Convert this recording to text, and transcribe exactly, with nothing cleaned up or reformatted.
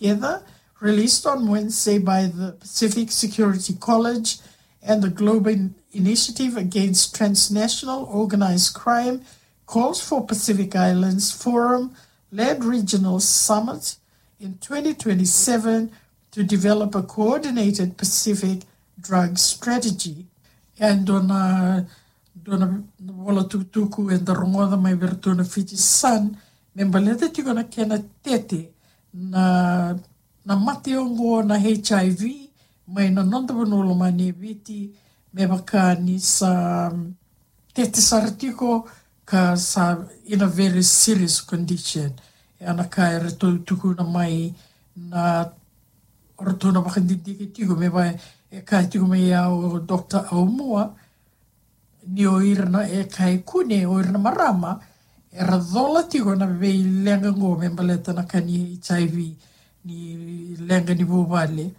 Together, released on Wednesday by the Pacific Security College and the Global Initiative Against Transnational Organized Crime, calls for Pacific Islands Forum-led regional summit in twenty twenty-seven to develop a coordinated Pacific drug strategy. And on a, dua na vola tukutuku eda rogoca mai vei iratou na Fiji Sun, me baleta tiko na kena tete na, na mate oqo na H I V mai na noda vanua lomani e Viti, me vaka ni sa tete sara tiko ka sa in a very serious condition. E na ka eratou tukuna mai na, o ratou na vakadidike tiko me vaka e kaya tiko mai ya o Doctor Aumua, ni o ira na, e kaya e kune o ira na marama era cola tiko na veileqa qo me baleta na ka ni H I V, ni leqa ni vuvale.